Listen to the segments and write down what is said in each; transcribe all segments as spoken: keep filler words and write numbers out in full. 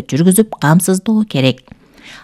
жүргүзүп камсыздоо керек.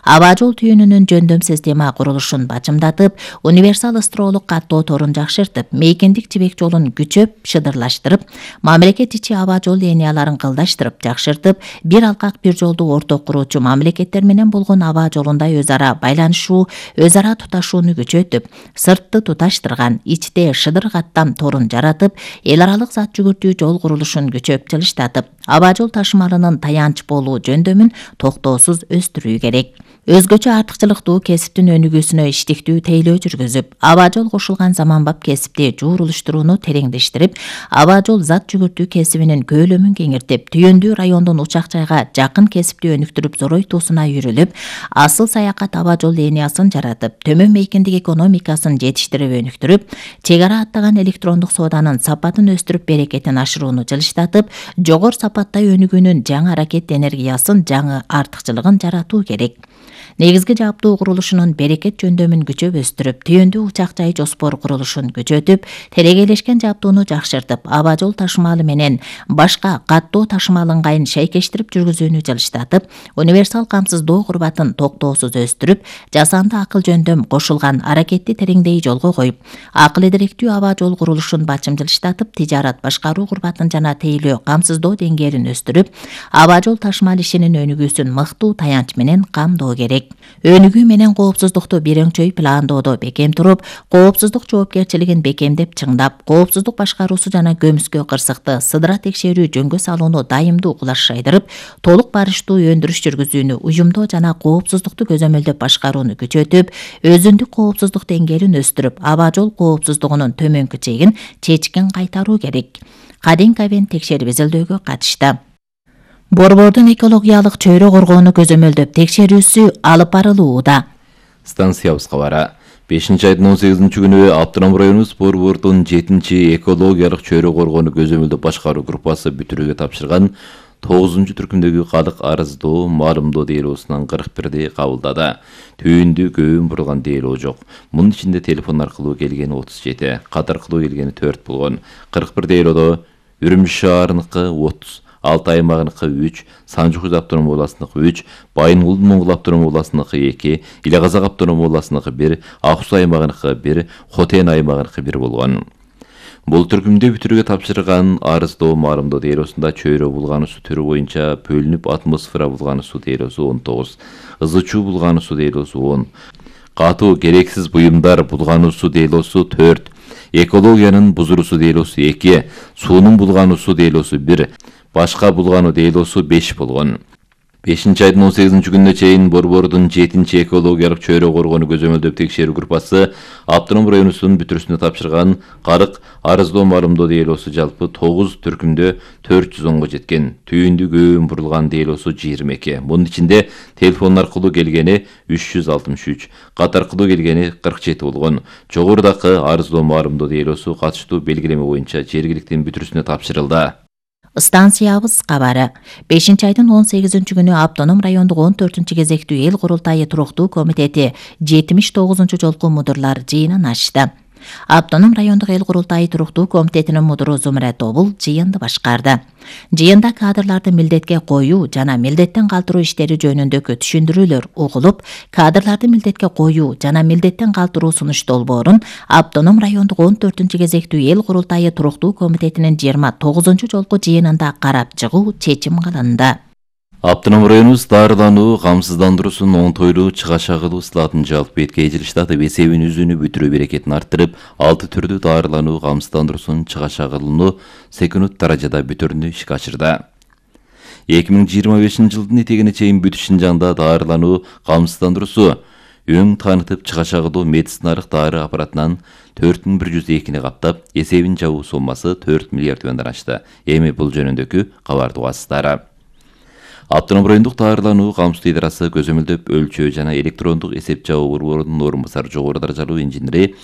Аба жол түйүнүнүн жөндөм система курулушун бачымдатып, универсал ыстыроолук каттоо торун жакшыртып, мейкиндик жибек жолун күчөп, шыдырлаштырып, мамлекет ичи аба жол линияларын кылдаштырып, жакшыртып, бир алкак бир жолду орток куруучу мамлекеттер менен болгон аба жолунда өз ара байланышуу, өз ара туташууну күчөтүп, сыртты туташтырган, ичте шыдыр каттам торун жаратып, эл аралык зат жүгүртүү жол курулушун күчөп жылыштатып, аба жол ташымалынын таянч болуу жөндөмүн токтоосуз өстүрүү керек. Өзгөчө артыкчылыктуу кесиптин өнүгүүсүнө иштиктүү тейлөө жүргүзүп, аба жол кошулган заманбап кесипти жуурулуштурууну тереңдештирип, аба жол зат жүгүртүү кесибинин көөлөмүн кеңиртип, түйүндүү райондун учак жайга жакын кесипти өнүктүрүп зоройтуусуна үйрүлүп, асыл саякат аба жол линиясын жаратып, төмөн мейкиндик экономикасын жетиштирип өнүктүрүп, чек ара аттаган электрондук сооданын сапатын өстүрүп, берекетин ашырууну жылыштатып, жогору сапаттай өнүгүүнүн жаңы аракет энергиясын, жаңы артыкчылыгын жаратуу керек. Негизги жабдуу курулушунун берекет жөндөмүн күчөп өстүрүп, түйүндүү учак жай жоспор курулушун күчөтүп, терегейлешкен жабдууну жакшыртып, аба жол ташымалы менен башка каттоо ташымал ыңгайын шайкештирип жүргүзүүнү жылыштатып, универсал камсыздоо курбатын токтоосуз өстүрүп, жасанды акыл жөндөм кошулган аракетти тереңдей жолго коюп, акыл эдиректүү аба жол курулушун бачым жылыштатып, тижарат башкаруу курбатын жана тейлөө камсыздоо деңгээлин өстүрүп, аба жол ташымал ишинин өнүгүүсүн мыктуу таянч менен камдоо керек. Өнүгүү менен коопсуздукту бирөңчөй пландоодо бекем туруп, коопсуздук жоопкерчилигин бекемдеп чыңдап, коопсуздук башкаруусу жана көмүскө кырсыкты сыдыра текшерүү жөнгө салууну дайымдуу кулаш шайдырып, толук барыштуу өндүрүш жүргүзүүнү уюмдоо жана коопсуздукту көзөмөлдөп башкарууну күчөтүп, өзүндүк коопсуздук деңгээлин өстүрүп, аба жол коопсуздугунун төмөнкү чегин чечкин кайтаруу керек. Кадин Кавен текшерип изилдөөгө катышты. Борбордун экологиялык чөйрө коргоону көзөмөлдөп текшерүүсү алып барылууда. Станциябыз кабары. бешинчи айдын он сегизинчи күнү Автоном районубуз борбордун жетинчи экологиялык чөйрө коргоону көзөмөлдөп башкаруу группасы бүтүрүүгө тапшырган тогузунчу түркүмдөгү калык арыздоо, маалымдоо делоосунан кырк бирди кабылдады. Түйүндүү көбүн бурулган делоо жок. Мунун ичинде телефон аркылуу келгени отуз жети, кат аркылуу келгени төрт болгон. кырк бир делоодо Үрүмчү шаарыныкы отуз, Алты аймагыныкы үч, Санжы-Куз автономдук областыныкы үч, Байынгул-Моңгул автономдук областыныкы эки, Ил-Казак автономдук областыныкы бир, Ак Суу аймагыныкы бир, Хотен аймагыныкы бир болгон. Бул түркүмдө бүтүрүүгө тапшырган арыздоо маалымдоо делоосунда чөйрө булгануусу түрү боюнча бөлүнүп атмосфера булгануусу делоосу он тогуз, ызы чуу булгануусу делоосу он, катуу керексиз буюмдар булгануусу делоосу төрт, экологиянын бузуруусу делоосу эки, суунун булгануусу делоосу бир, башка булгануу делоосу беш болгон. бешинчи айдын он сегизинчи күнүнө чейин борбордун жетинчи экологиялык чөйрө коргоону көзөмөлдөп текшерүү группасы Автоном районубуздун бүтүрүүсүнө тапшырган кырк арыздоо маалымдоо делоосу жалпы тогуз түркүмдө төрт жүз онго жеткен. Түйүндүү көбүн бурулган делоосу жыйырма эки. Мунун ичинде телефон аркылуу келгени үч жүз алтымыш үч, кат аркылуу келгени кырк жети болгон. Жогорудагы арыздоо маалымдоо делоосу катыштуу белгилеме боюнча жергиликтин бүтүрүүсүнө тапшырылды. Станциябыз кабары. бешинчи айдын он сегизинчи күнү Автоном райондук он төртүнчү кезектүү эл курултайы туруктуу комитети жетимиш тогузунчу жолку мудурлар жыйынын ачты. Автоном райондук эл курултайы туруктуу комитетинин мудуру Зумра Тобул жыйынды башкарды. Жыйында кадрларды милдетке коюу жана милдеттен калтыруу иштери жөнүндөгү түшүндүрүүлөр угулуп, кадрларды милдетке коюу жана милдеттен калтыруу сунуш долбоорун Автоном райондук он төртүнчү кезектүү эл курултайы туруктуу комитетинин жыйырма тогузунчу жолку жыйынында карап чыгуу чечим кылынды. Автоном районубуз дарылануу, камсыздандыруусун оңтойлуу чыгаша кылуу сылатын жалпы беткей жылыштатып, эсебин үзүүнү бүтүрүү берекетин арттырып, алты түрдүү дарылануу, камсыздандыруусун чыгаша кылууну секунд даражада бүтүрүүнү ишке ашырды. эки миң жыйырма бешинчи жылдын этегине чейин Бүт Шынжаңда дарылануу, камсыздандыруусу өң таанытып чыгаша кылуу медициналык дары аппаратынан төрт миң бир жүз экини каптап, эсебин жабуу соммасы төрт миллиард теңгеден ашты. Эми бул жөнүндөгү кабарды угасыздар. Автоном райондук дарылануу камсыздоо идарасы көзөмөлдөп өлчөө жана электрондук эсеп жабуу борборунун орун басары жогору даражалуу инженери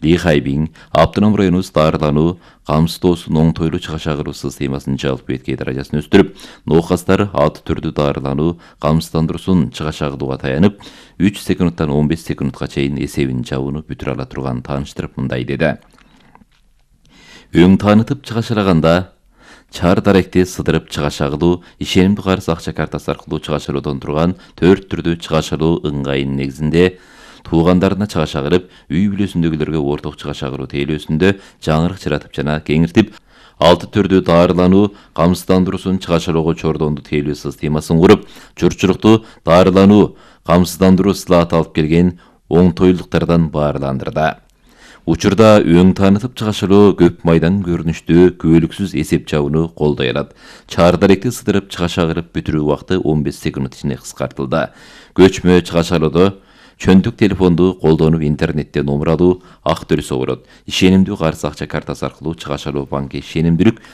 Ли Хайбин Автоном районубуз дарылануу, камсыздоосун оңтойлуу чыгаша кылуу системасынын жалпы беткей даражасын өстүрүп, ноокастар алты түрдүү дарылануу, камсыздандыруусун чыгаша кылууга таянып, үч секундтан он беш секундка чейин эсебин жабууну бүтүрө ала турганын тааныштырып мындай деди. Өң таанытып чыгашалаганда чаар даректи сыдырып чыгаш агылуу, ишенимдүү карыз акча картасы аркылуу чыгаш алуудан турган төрт түрдүү чыгаш алуу ыңгайынын негизинде туугандарына чыгаш агырып, үй бүлөсүндөгүлөргө орток чыгаш агыруу тейлөөсүндө жаңырык чыратып жана кеңиртип, алты түрдүү дарылануу камсыздандыруусун чыгаш алууга чордонду тейлөө системасын куруп, журтчулукту дарылануу камсыздандыруу сылааты алып келген оңтойлуктардан баарландырды. Учурда өң таанытып чыгаш алуу көп майдан көрүнүштүү күбөлүксүз эсеп жабууну колдой алат. Чаар даректи сыдырып чыгаш агырып бүтүрүү убакыты он беш секунд ичинде кыскартылды. Көчмө чыгаш алуудо чөндүк телефонду колдонуп интернетте номер алуу ак төлөсө болот. Ишенимдүү карыз акча картасы аркылуу чыгаш алуу банкы ишенимдүүлүк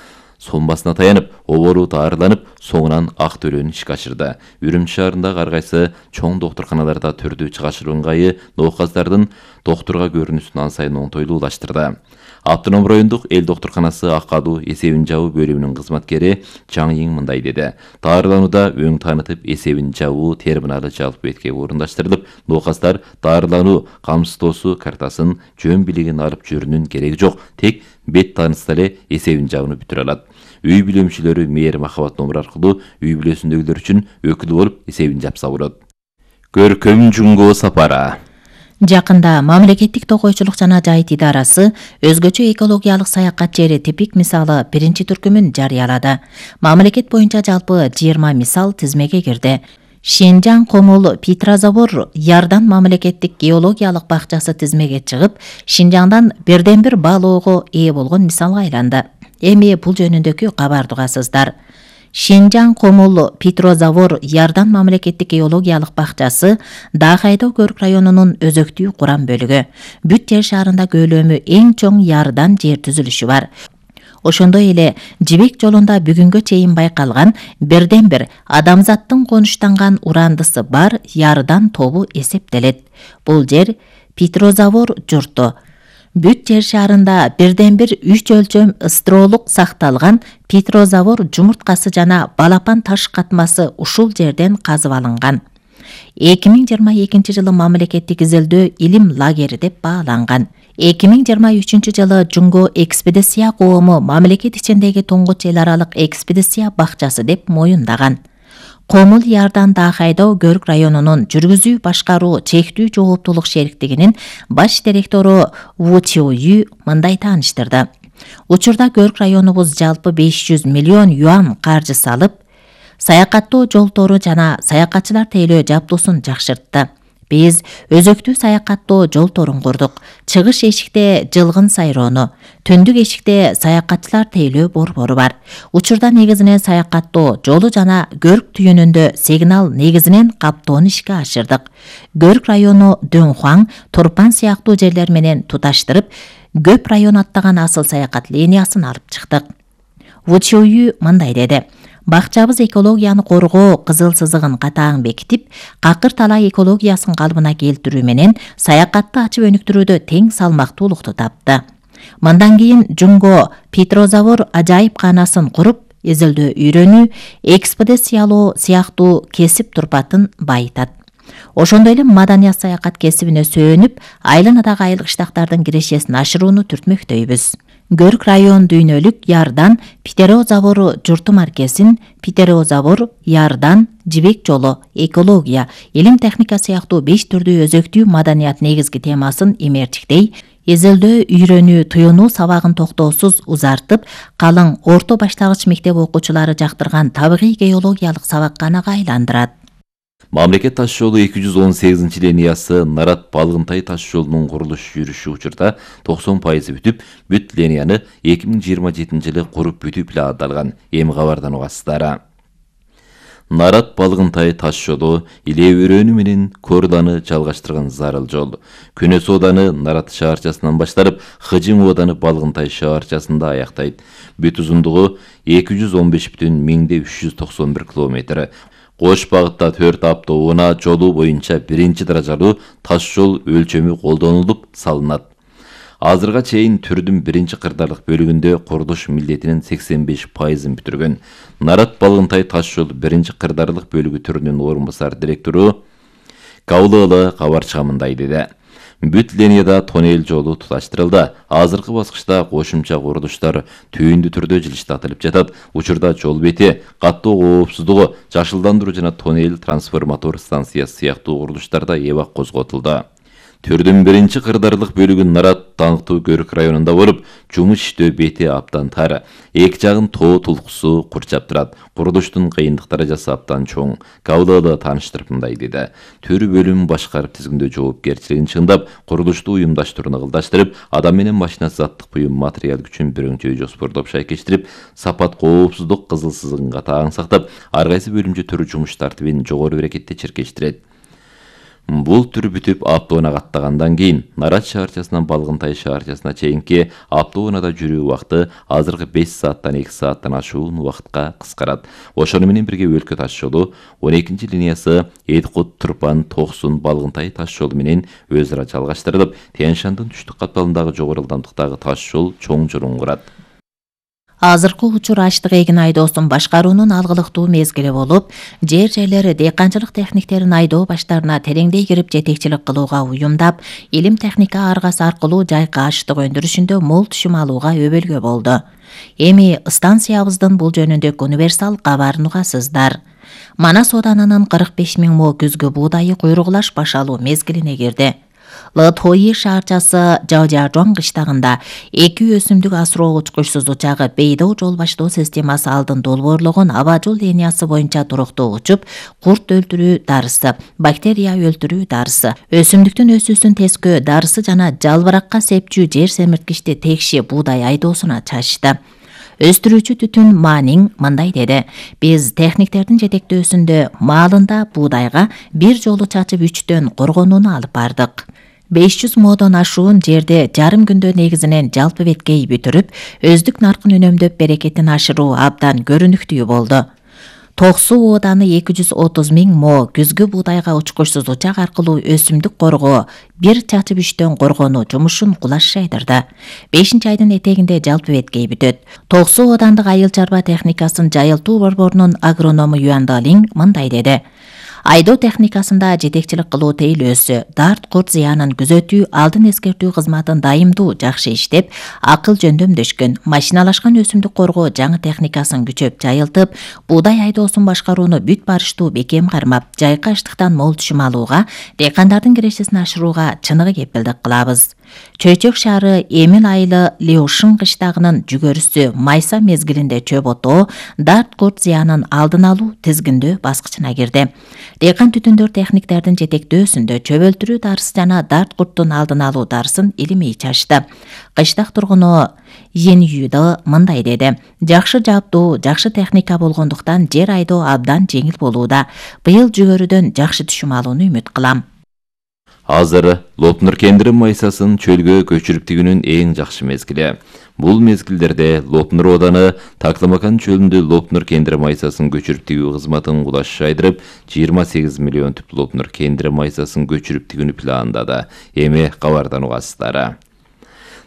сомасына таянып, обору таарыланып, соңунан ак төлөөнү ишке ашырды. Үрүмчү шаарындагы ар кайсы чоң доктурканаларда түрдүү чыгаш алуу ыңгайы нооказдардын доктурга көрүнүүсүн ан сайын оңтойлуулаштырды. Автоном райондук эл доктурканасы акадуу эсебин жабуу бөлүмүнүн кызматкери Чаңйин мындай деди. Дарыланууда өң таанытып эсебин жабуу терминалы жалпы бетке орундаштырылып, нооказдар дарылануу камсыздоосу картасын жөн билигин алып жүрүүнүн кереги жок, тек бет таанытса эле эсебин жабууну бүтүрө алат. Үй бүлө мүчөлөрү мээр махабат номер аркылуу үй бүлөсүндөгүлөр үчүн өкүл болуп эсебин жапса болот. Көркөм Жунго сапары. Жакында мамлекеттик токойчулук жана жайыт идарасы өзгөчө экологиялык саякат жери типик мисалы биринчи түркүмүн жарыялады. Мамлекет боюнча жалпы жыйырма мисал тизмеге кирди. Шинжаң Комул Петрозавод Ярдан мамлекеттик геологиялык бакчасы тизмеге чыгып, Шинжаңдан бирден бир баалоого ээ болгон мисалга айланды. Эми бул жөнүндөгү кабарды угасыздар. Шинжаң Комул Петрозавод Ярдан мамлекеттик геологиялык бакчасы Дахайдоо Көрк районунун өзөктүү курам бөлүгү. Бүт жер шарында көлөмү эң чоң Ярдан жер түзүлүшү бар. Ошондой эле Жибек жолунда бүгүнгө чейин байкалган бирден бир адамзаттын конуштанган урандысы бар Ярдан тобу эсептелет. Бул жер Петрозавод журту. Бүт жер шарында бирден бир үч өлчөм ыстролук сакталган Петрозавод жумурткасы жана балапан таш катмасы ушул жерден казып алынган. эки миң жыйырма экинчи жылы мамлекеттик изилдөө илим лагери деп бааланган. эки миң жыйырма үчүнчү жылы Жунго экспедиция коому мамлекет ичиндеги туңгуч эл аралык экспедиция бакчасы деп моюндаган. Комул Ярдан Дахайдоо Көрк районунун жүргүзүү башкаруу чектүү жооптуулук шериктигинин баш директору Ву Чиою мындай тааныштырды. Учурда Көрк районубуз жалпы беш жүз миллион юан каржы салып, саякаттоо жолтору жана саякатчылар тейлөө жабдуусун жакшыртты. Биз өзөктүү саякаттоо жолторун курдук. Чыгыш эшикте жылгын сайроону, түндүк эшикте саякатчылар тейлөө борбору бар. Учурда негизинен саякаттоо жолу жана Көрк түйүнүндө сигнал негизинен каптоону ишке ашырдык. Көрк району Дөңхуаң, Турпан сыяктуу жерлер менен туташтырып, көп район аттаган асыл саякат линиясын алып чыктык. Вучою мындай деди. Бакчабыз экологияны коргоо кызыл сызыгын катаң бекитип, какыр талай экологиясын калыбына келтирүү менен саякатты ачып өнүктүрүүдө тең салмактуулукту тапты. Мындан кийин Жунго Петрозавод ажайып каанасын куруп, изилдөө үйрөнүү, экспедициялоо сыяктуу кесип турпатын байытат. Ошондой эле маданият саякат кесибине сөөнүп, айланадагы айыл кыштактардын кирешесин ашырууну түртмөктөйбүз. Көрк район дүйнөлүк Ярдан Петрозавод журту маркесин Петрозавод Ярдан Жибек жолу экология, илим техника сыяктуу беш түрдүү өзөктүү маданият негизги темасын эмерчиктей, изилдөө үйрөнүү туюнуу сабагын токтоосуз узартып, калың орто баштагыч мектеп окуучулары жактырган табигый геологиялык сабакканага айландырат. Мамлекет таш жолу эки жүз он сегизинчи линиясы Нарат Балгынтай таш жолунун курулуш жүрүшү учурда токсон пайызы бүтүп, бүт линияны эки миң жыйырма жетинчи жылы куруп бүтүп эле аталган. Эми кабардан угасыздар. Нарат Балгынтай таш жолу Иле өрөөнү менен Корланы жалгаштырган зарыл жол. Күнөс ооданы Нарат шаарчасынан башталып, Хыжың ооданы Балгынтай шаарчасында аяктайт. Бүт узундугу эки жүз он беш бүтүн миңде үч жүз токсон бир километр. Кош багытта төрт автоунаа жолу боюнча биринчи даражалуу таш жол өлчөмү колдонулуп салынат. Азырга чейин түрдүн биринчи кырдаарлык бөлүгүндө курулуш милдетинин сексен беш пайызын бүтүргөн. Нарат Балгынтай таш жол биринчи кырдаарлык бөлүгү түрүнүн орун басар директору Каулыгы кабар чыгымындай деди. Бүт линияда тоннель жолу туташтырылды. Азыркы баскычта кошумча курулуштар түйүндү түрдө жылыштатылып жатат. Учурда жол бети, каттоо коопсуздугу, жашылдандыруу жана тоннель трансформатор станциясы сыяктуу курулуштарда эбак козготулду. Түрдүн биринчи кырдаарлык бөлүгү Нарат Даңктуу Көрүк районунда болуп, жумуш иштөө бети абдан тар. Эки жагын тоо тулкусу курчап турат. Курулуштун кыйындык даражасы абдан чоң. Кабылда тааныштырып мындай деди. Төр бөлүм башкарып тизгиндөө жоопкерчилигин чыңдап, курулушту уюмдаштырууну кылдаштырып, адам менен машина заттык буюм материал күчүн бирөңчөй жоспордоп шайкештирип, сапат коопсуздук кызыл сызыгынга таң сактап, ар кайсы бөлүмчө төр жумуш тартибин жогору берекетте чиркештирет. Бул түр бүтүп автоунаа каттагандан кийин Нарат шаарчасынан Балгынтай шаарчасына чейинки автоунаада жүрүү убакыты азыркы беш сааттан эки сааттан ашуун убакытка кыскарат. Ошону менен бирге өлкө таш жолу он экинчи линиясы Эдикут, Турпан, Токсун, Балгынтай таш жолу менен өз ара жалгаштырылып, Тянь-Шандын түштүк катталымдагы жогору ылдамдыктагы таш жол чоң жолун курат. Азыркы учур аштык эгин айдоосун башкаруунун алгылыктуу мезгили болуп, жер жерлери дыйканчылык техниктерин айдоо баштарына тереңдей кирип жетекчилик кылууга уюмдап, илим техника аргасы аркылуу жайкы аштык өндүрүшүндө мол түшүм алууга өбөлгө болду. Эми станциябыздын бул жөнүндөгү универсал кабарын угасыздар. Манас Оданынын кырк беш миң мо күзгү буудайы куйругулаш башалуу мезгилине кирди. Лытхойи шаарчасы Жаожажуан кыштагында эки өсүмдүк асыроо учкучсуз учагы Бейдоо жол баштоо системасы алдын долбоорлогон аба жол линиясы боюнча туруктуу учуп, курт өлтүрүү дарысы, бактерия өлтүрүү дарысы, өсүмдүктүн өсүүсүн тескөө дарысы жана жалбыракка сепчүү жер семирткичти текши буудай айдоосуна чачты. Өстүрүүчү Түтүн Манин мындай деди. Биз техниктердин жетектөөсүндө маалында буудайга бир жолу чачып үчтөн коргонууну алып бардык. беш жүз модон ашуун жерде жарым күндө негизинен жалпы беткей бүтүрүп, өздүк наркын үнөмдөп берекетин ашыруу абдан көрүнүктүү болду. Токсу Ооданы эки жүз отуз миң мо күзгү буудайга учкучсуз учак аркылуу өсүмдүк коргоо, бир чачып үчтөн коргонуу жумушун кулаш жайдырды. бешинчи айдын этегинде жалпы беткей бүтөт. Токсу Оодандык айыл чарба техникасын жайылтуу борборунун агроному Юан Далин мындай деди. Айдоо техникасында жетекчилик кылуу тейлөөсү, дарт курт зыянын күзөтүү, алдын эскертүү кызматын дайымдуу жакшы иштеп, акыл жөндөмдөшкөн, машиналашкан өсүмдүк коргоо жаңы техникасын күчөп жайылтып, буудай айдоосун башкарууну бүт барыштуу бекем кармап, жайкы аштыктан мол түшүм алууга, дыйкандардын кирешесин ашырууга чыныгы кепилдик кылабыз. Чөйчөк шаары Эмил айылы Леошин кыштагынын жүгөрүсү майса мезгилинде чөп отоо, дарт курт зыянын алдын алуу тизгиндөө баскычына кирди. Дыйкан түтүндөр техниктердин жетектөөсүндө чөп өлтүрүү дарысы жана дарт курттун алдын алуу дарысын илимий чачты. Кыштак тургуну Йен Юда мындай деди. Жакшы жабдуу, жакшы техника болгондуктан жер айдоо абдан жеңил болууда. Быйыл жүгөрүдөн жакшы түшүм алууну үмүт кылам. Азыр Лопнур кендири майсасын чөлгө көчүрүп тигүүнүн эң жакшы мезгили. Бул мезгилдерде Лопнур Ооданы Такламакан чөлүндө Лопнур кендири майсасын көчүрүп тигүү кызматын кулаш жайдырып, жыйырма сегиз миллион түп Лопнур кендири майсасын көчүрүп тигүүнү пландады. Эми кабардан угасыздар.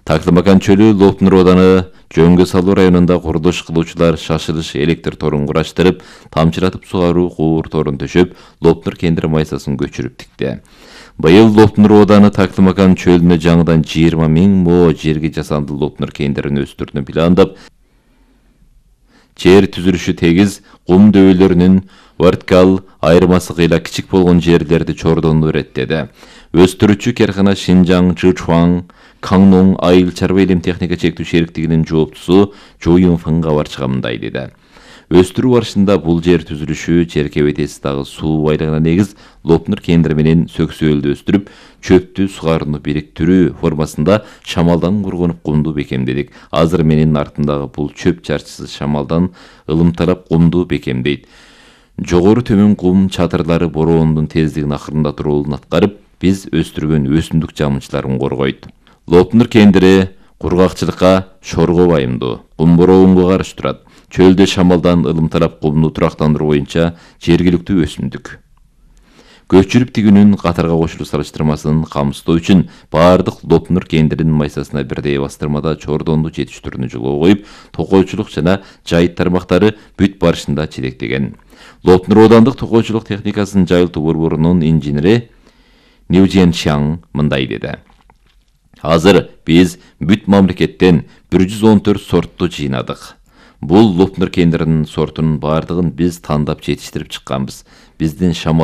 Такламакан чөлү Лопнур Ооданы Жөнгө салуу районунда курулуш кылуучулар шашылыш электр торун кураштырып, тамчылатып сугаруу куур торун төшөп, Лопнур кендири майсасын көчүрүп тикти. Быйыл Лопнур Ооданы Такламакан чөлүнө жаңыдан жыйырма миң мо жерги жасанды Лопнур кендирин өстүрүүнү пландап, жер түзүлүшү тегиз, кум дөбөлөрүнүн вертикал айырмасы кыйла кичик болгон жерлерди чордонду иреттеди. Өстүрүүчү каркана Шинжаң, Чжучуан, Каңнун айыл чарба илим техника чектүү шериктигинин жооптусу Жо Юнфын кабар чыгымындай деди. Өстүрүү барышында бул жер түзүлүшү Черкебетеси дагы суу байлыгына негиз Лопнур кендири менен сөксөөлдү өстүрүп, чөптү сугарууну бириктирүү формасында шамалдан кургонуп кумду бекемдедик. Азыр менин артындагы бул чөп чарчысы шамалдан ылымталап кумду бекемдейт. Жогору төмөн кум чатырлары бороондун тездигин акырындатуу ролун аткарып, биз өстүргөн өсүмдүк жамынчыларын коргойт. Лопнур кендири кургакчылыкка шорго байымдуу, кум бороонго каршы турат. Чөлдө шамалдан ылымталап кумду турактандыруу боюнча жергиликтүү өсүмдүк. Көчүрүп тигүүнүн катарга кошулуу салыштырмасын камсыздоо үчүн баардык Лопнур кендиринин майсасына бирдей бастырмада чордонду жетиштирүүнү жолго коюп, токойчулук жана жайыт тармактары бүт барышында жетектеген. Лопнур Оодандык токойчулук техникасынын жайылтуу борборунун инженери Liu Jianxiang мындай деди. Азыр биз бүт мамлекеттен бир жүз он төрт сортту жыйнадык. Бул Лупнер кендиринин сортунун бардыгын биз тандап жетиштирип чыкканбыз. Биздин